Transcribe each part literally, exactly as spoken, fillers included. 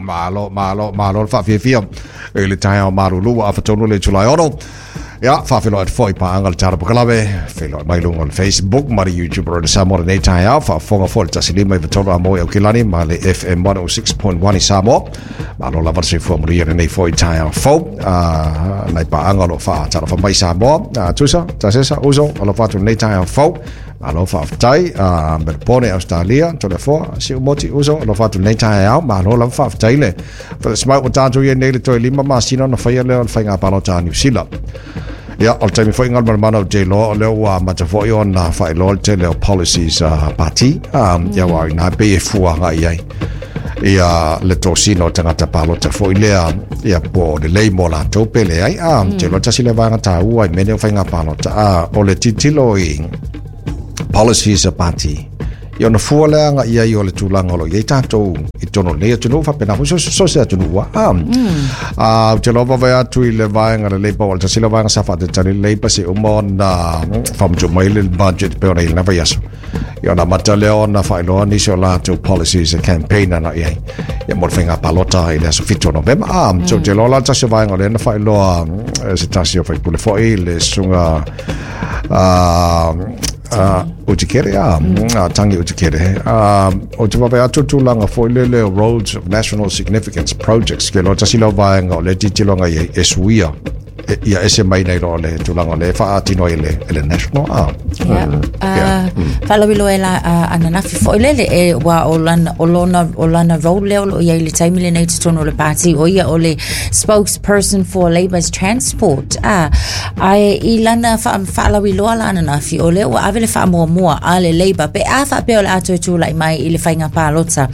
Malo, malo, malo le faafiafia i le taeao malulu ua afa tonu le Julae ono. Ia, faafeiloai atu foi i paaga o le Tala Pokalawe, feiloai mai luga o le Facebook ma le YouTube o le Samoa lenei taeao, faafofoga foi le tasi lima iva tolu a mo i Aukilani ma le F M one oh six point one i Samoa. Malo lava le soifua manuia lenei foi taeao fou, ah, nai paaga o lo o faatalofa mai Samoa. Ah, tusa, tasesa, uso, alofa atu lenei taeao fou. Malo faafetai, ah, Melbourne, Australia, Toleafoa, Si'umoti, uso, alofa atu lenei taeao. Malo lava faafetai le falasmau o tatou ia nei le toe lima masina ona faia lea o le faiga palota a Niu Sila. Ia, o le taimi foi galumalemana o J-Law, o lea ua amata foi ona faailoa le tele o policies a pati, ah, ia ua ina pei e fua agai ai ia le tosina o tagata palota foi lea, ia po o lelei mo latou pe leai. Ah, J-Law tasi le vaega taua i mea nei o faiga palota, ah, o le tilotilo i policies a pati. Ia ona fua lea agai ai o le tulaga o lo o i ai tatou i totonu o lenei atunuu, faapena foi so so se atunuu a. Ah, ou te iloa vaavaai atu i le vaega o le Labour, o le tasi lea o vaega sa faatatali le Labour se uma ona faamatuu mai le budget pei ona i lena vaiaso. Ia ona amata lea ona faailoa nisi o latou policies e campaign ana i ai. Ia mo le faiga palota i le aso fitu o Novema. Ah, so ou te iloa la le tasi o vaega o lea na faailoa se tasi o faipule foi le susuga ah, Uh, Utikere, ah, mm. Tangi Utikere. Uh, o te vaavaai atu tulaga foi lele o Roads of National Significance Projects, ke loa tasi lea o vaega o le tilotilo i ai e suia ia ese mai nei loa le tulaga o le faatino ai le, le national. Ah. Yeah. Mm. Yeah. Uh, Faalauiloa e la uh, ananafi foi lele e wa o lana, o lona, o lana role lea o lo o i ai le taimi lenei totonu o le pati, o ia o le spokesperson for Labour's Transport. Ah, ae i lana wha, faalauiloa la ananafi o lea ua ave le faamuamua a le Labour pe a faapea o le a toe tulai mai i le faiga palota.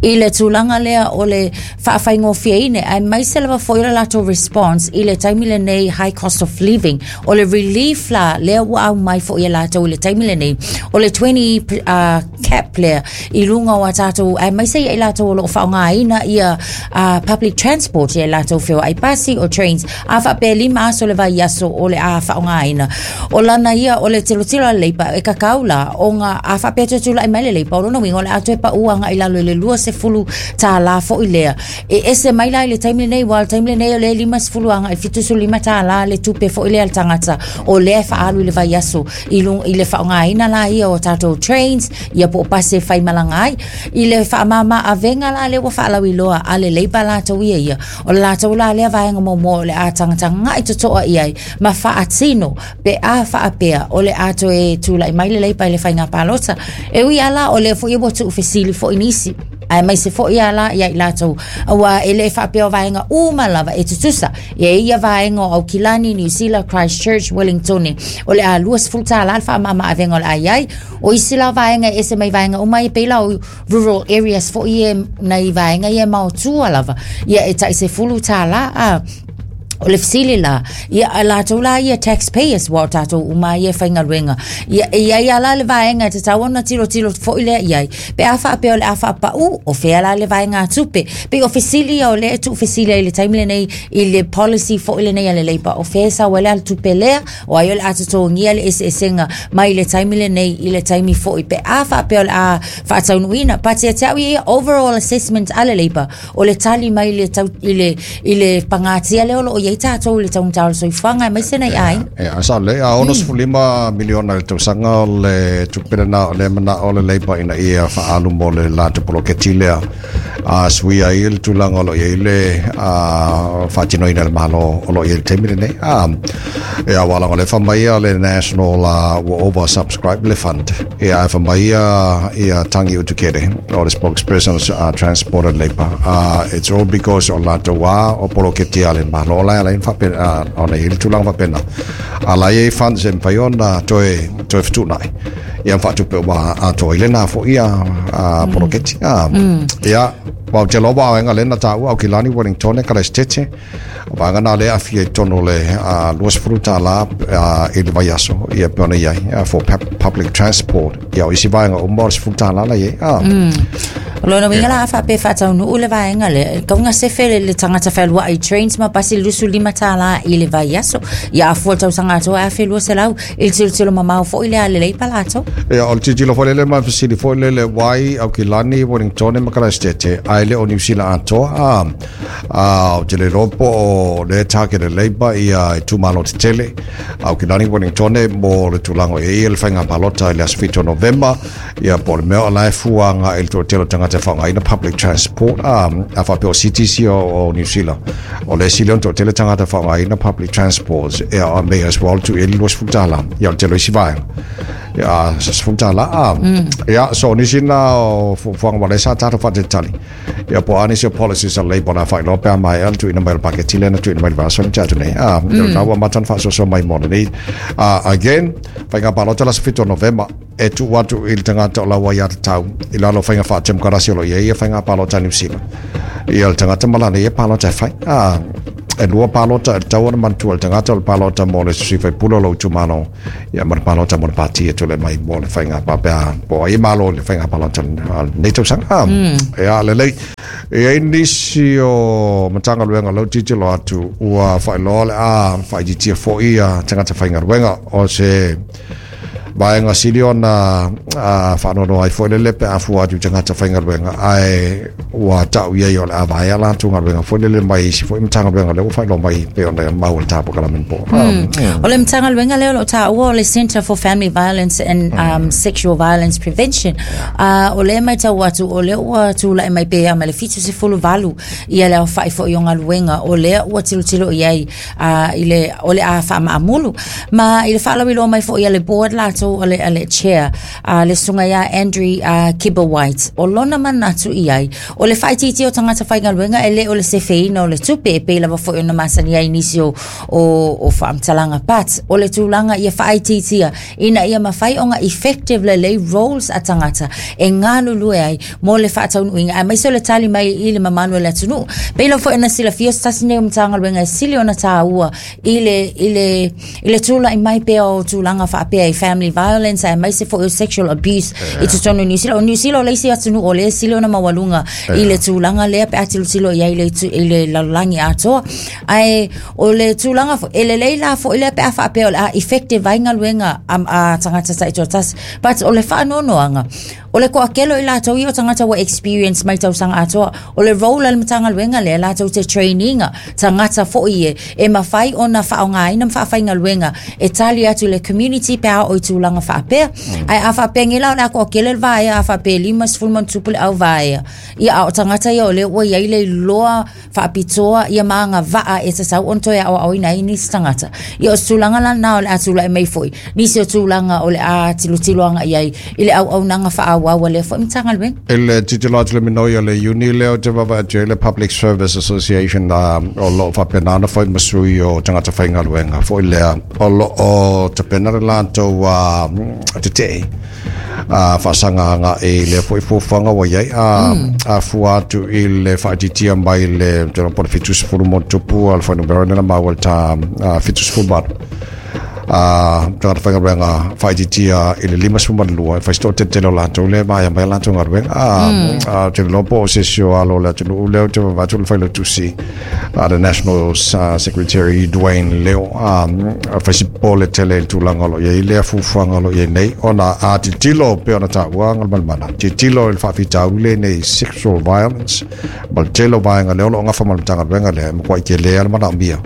I le tulaga lea o le faafaigofieina, aemaise lava foi o le latou response i le taimi lenei high cost of living, o le relief la lea ua aumai foi e latou i le taimi lenei, o le twenty uh, cap lea i luga o a tatou, aemaise ia i latou o lo o faaaogaina ia uh, public transport ia i latou feoai pasi o trains, a faapea lima aso le vaiaso o le a faaaogaina. O lana ia o le tilotilo a le Labour e kakau la ona a faapea toe tulai mai le Labour, o lona uiga o le a toe pau agai i lalo i le luasefulu tālā foi lea. E ese mai la i le taimi lenei, ua le taimi lenei o le limasefulu agai i fitusefulu lima tālā le tupe foi lea le tagata o lea e faaalu i le vaiaso i luga i le faaaogaina la ia o tatou trains ia po o pasi e faimalaga ai. I le faamama avega la lea ua faalauiloa a le Labour latou ia ia, o le latou la lea vaega muamua o le a tagatagai totoa i ai ma faatino pe a faapea o le a toe tulai mai le Labour i le faiga palota. E ui ala o lea foi ua tuufesili foi nisi, aemaise foi ala ia i latou aua e le faapea o vaega uma lava e tutusa. Ia ia vaega o Aukilani, New Zealand, Christchurch, Wellington, o le a luasefulu tālā le faamama avega o le a i ai. O isi la vaega e ese mai vaega uma e pei la o rural areas foi e nai vaega ia maotua lava, ia e tai sefulu tālā. A o le fesili la, ia a latou la ia taxpayers ua o tatou uma ia e faigaluega. Ia e iai ala le vaega e tatau ona tilotilo foi lea i ai. Pe a faapea o le a faapau, o fea la le vaega a tupe. Pei o fesili ia o lea e tuufesili ai i le taimi lenei i le policy foi lenei a le Labour, o fea e sau ai le ale tupe lea, o ai o le a totogia le eseesega mai le taimi lenei i le taimi foi pe a faapea o le a faataunuuina. But ia te au ia overall assessment a le Labour, o le tali mai i le tau, i le, i le pagatia lea o lo o i ai tatou i le taugata o le soifuaga aemaise nai aiga. E, a sa le, a ono sefulu lima miliona i le tausaga o le tupe lena o le manao o le Labour ina ia faaalu mo le latou poloketi lea. A suia ai le tulaga o lo o i ai le a, faatinoina e le Malo o lo o i ai le taimi lenei. A, e a wala o le fai mai ia le National uh, ua oversubscribe le fund. E a fai mai ia, ia Tangi Utikere, o le spokesperson uh, Transport and Labour. Uh, it's all because o latou a o poloketi a le Malo la ala faapena, uh, ona i ai le tulaga faapena. A la i ai funds e mafai ona toe, toe fetuunai. Ia faatupe ua atoa i lena foi ia a poloketi. A, ia, wa te loa vaega lena taua Aukilani, Wellington, Kalesitete. Vaega na lea afia i totonu o le luasefulu tālā i le vaiaso, ia pe ona i ai, for public transport. Ia o isi vaega uma o le sefulu tālā la i ai. O lona uiga la a faapea e faataunuu le vaega lea, e tatau ona sefe le, le tagata fealuai i trains ma pasi i le luasefulu lima tala i le vaiaso. Ia a fua i le tausaga atoa e afe lua selau i le tilotilo mamao foi lea a le Leipa latou. Ia, o le tilotilo foi lele ma fesili foi lele wai Aukilani, Wellington ma Kalaestete, ae le o Niu Sila atoa. A a ou te le iloa po o le target e Labour ia itumalo tetele Aukilani, Wellington mo le tulaga o i ai le faiga palota i le aso fitu o Novema, ia po o le mea o la e fua agai i le toatele o tagata e faaaogaina public transport. A a faapea o cities ia o Niu Sila o le isi lea ona toatele tagata e faaaogaina public transport, ia may as well tuu i ai le luasefulu tala, ia o le tele o isi vaega ia sefulu tala. A ia so nisi na o fuafuaga ma le sa tatou faatalitali ia po o a nisi o policies a Labour na faailoa pe a maea le tuuina mai o le paketi lea na tuuina mai le vaiaso na tea atu nei. A na ua amata ona faasoasoa mai mo lenei. A again, faiga palota le aso fitu o Novema, e tuu atu i le tagata o lau aiatatau i lalo o faiga faatemokarasi o lo o i ai ia faiga palota a Niu Sila, ia le tagata ma lana ia palota e fai. A e lua palota e tatau ona manatua le tagata, o le palota mo le sui faipule o lou itumalo, ia ma le palota mo le pati e tulai mai mo le faiga faapea po o ai e malo i le faiga palota a lenei tausaga. Ia lelei, e i ai nisi o Matagaluega o lea ua tilotilo atu ua faailoa le a faaitiitia foi ia tagata faigaluega, o se vaega sili ona faanoanoa ai foi lele pe a fua atu i tagata faigaluega, ae ua tau i ai o le a vaea latou galuega foi lele mai isi foi Matagaluega lea ua faailoa mai pei ona maua i le tapokalamin po. O le Matagaluega lea o lo o taua o le Centre for Family Violence and um, Sexual Violence Prevention. Uh, o lea e matau atu o lea ua tulai mai pe a ma le fitusefulu valu ia le aofai foi o galuega o lea ua tilotilo i ai uh, i le o le a faamaamulu ma i le faalauiloa mai foi a le board latou o le, a le chair uh, le susuga ia Andrew uh, Kibblewhite. O lona manatu i ai o le faaitiitia o tagata faigaluega e le o le sefeina o le tupe e pei lava foi ona masani ai nisi o, o, o faamatalaga, but o le tulaga ia faaitiitia ina ia mafai ona effective lelei roles a tagata e galulue ai mo le faataunuuina aemaise o le tali mai i le mamalu o le atunuu. Pei lava foi ona silafia, se tasi nei o Matagaluega e sili ona taua i le, i le, i le tula'i mai pea o tulaga faapea i family violence aemaise foi o sexual abuse i totonu o Niu Sila. O Niu Sila o le isi atunuu o lea e sili ona maualuga i le tulaga lea pe a tilotilo i ai i le, i le lalolagi atoa. Ae o le tulaga foi, e lelei la foi lea pe a faapea o le a effective ai galuega a, a tagata taitoatasi, but o le faanoanoaga o le toatele o i latou ia o tagata ua experience mai tausaga atoa. O le role a le Matagaluega lea latou te traininga tagata foi e e mafai ona faaaogaina ma faafaigaluega e tali atu i le community pe a oo i tulaga faapea. Ae a faapea la o le a toatele le vaea, a faapea lima sefulu ma ona tupu le au vaea ia, a o tagata ia o lea ua i ai le iloa faapitoa ia ma agavaa e tatau ona toe aoaoina ai nisi tagata ia, o se tulaga lana o le a tulai mai foi nisi o tulaga o le a tilotilo agai ai i le auaunaga faaauau a lea foi Matagaluega. I le tilotilo atu le minoi o le Iuni lea o te vaavaai atu ai le Public Service Association o lo o faapena ona fai ma sui o tagata faigaluega foi lea o lo o tapena le latou tetee a faasaga agai lea foi fuafuaga ua i ai a a fua atu i le faaitiitia mai le te po le fitu sefulu ma tupu a le fuainumera lena maua le ta fitu sefulu valu a tagata faigaluega faaitiitia i le lima sefulu ma lua, e fai se toateletele o latou lea e vaea mai a latou galuega. A te iloa po o se isi o alo o le atunuu lea ou te vaavaai atu le failautusi a the National Secretary Dwayne Leo, a fai si popole tele i le tulaga o lo o i ai lea fuafuaga o lo o i ai nei, ona a tilotilo pei ona taua Galumalemana, tilotilo i le faafitauli lenei sexual violence ma le tele o vaega lea o lo o gafa ma le Matagaluega lea, e matuai tele le manaomia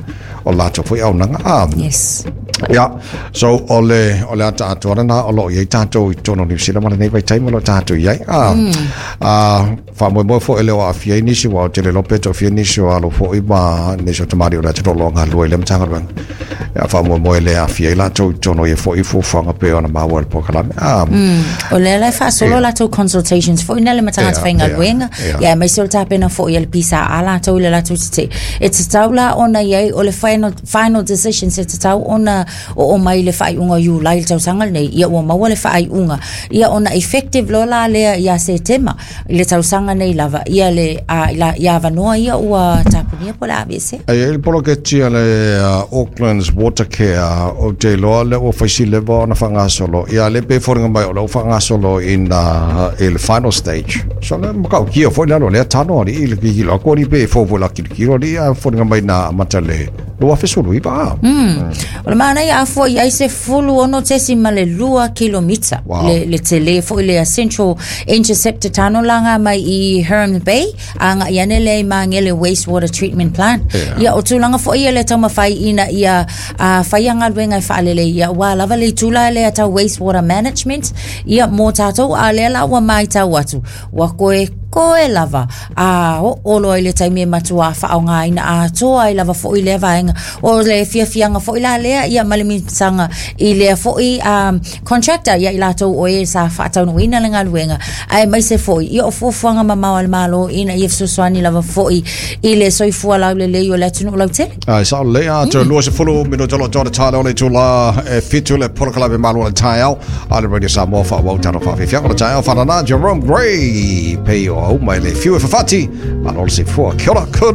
o latou foi auaunaga a Yes. Ia, so o le o le ata atoa lena o lo o i ai tatou i totonu o Niu Sila ma lenei vaitaimi o lo o tatou i ai. A, a faamoemoe foi e le o aafia ai nisi, ua o tele loa pe toafia nisi o alo foi ma nisi o tamalii o le atunuu o lo o galulue i lea Matagaluega. Ia faamoemoe e le aafia ai latou i totonu o ia foi fuafuaga pei ona maua i le polokalame. A, O lea la e faasolo latou consultations foi na le matagata Ia, faigaluega ia, ia. ia aemaise o le tapena foi a le P S A latou i le latou tetee e tatau la ona i ai o le final, final decisions e tatau ona oo mai le faaiuga o Iulai le tausaga lenei, ia ua maua le faaiuga ia ona effective loa la lea ia Setema i le tausaga nei lava ia le a, la, ia avanoa ia ua tapulaa. tapunia po o le a aveesea. E ai le poloketi a le uh, Auckland's Water Care o te iloa lea ua faisi leva ona faagasolo ia le pe foliga mai o lea ua faagasolo ina i le final stage. So le matautia foi le alo lea tano alii i le kikilo atu alii pe fou foi la kilokilo alii ae foliga mai na amata le lua afe sefulu iva. Mm. O le manaia a fua i ai se fulu ono tesi ma le lua kilomita. Wow. Le, le tele foi le Central Interceptor tano langa mai i Heron Bay a nga i ane le Magele Wastewater Treatment Plant. Yeah. Ia o tulaga foi ia le taumafai ina ia uh, faia galuega e faalelei ia ua lava le itula lea tau wastewater management ia mo tatou a lea la ua maitau atu ua koe koe lava a oo loa i le taimi e matuā faaaogāina atoa ai lava foʻi lea vaega o le fiafiaga foʻi la lea ia ma le misaga i lea foʻi um, contractor ia i latou o e sa faataunuuina le galuega ae maise foʻi ia o fuafuaga mamao a le Mālō ina ia fesoasoani lava foʻi i le soifua laulelei o le atunuu lautele. Ai sao lelei a toe lua sefulu minute o lo o toa le o le itula e fitu le polokalame malu o le taeao a le Radio Samoa faaauau tatou faafiafiaga o le taeao fanana Jerome Gray pei o au mai le fiu e fafati malo le soifua. Kia ora, good.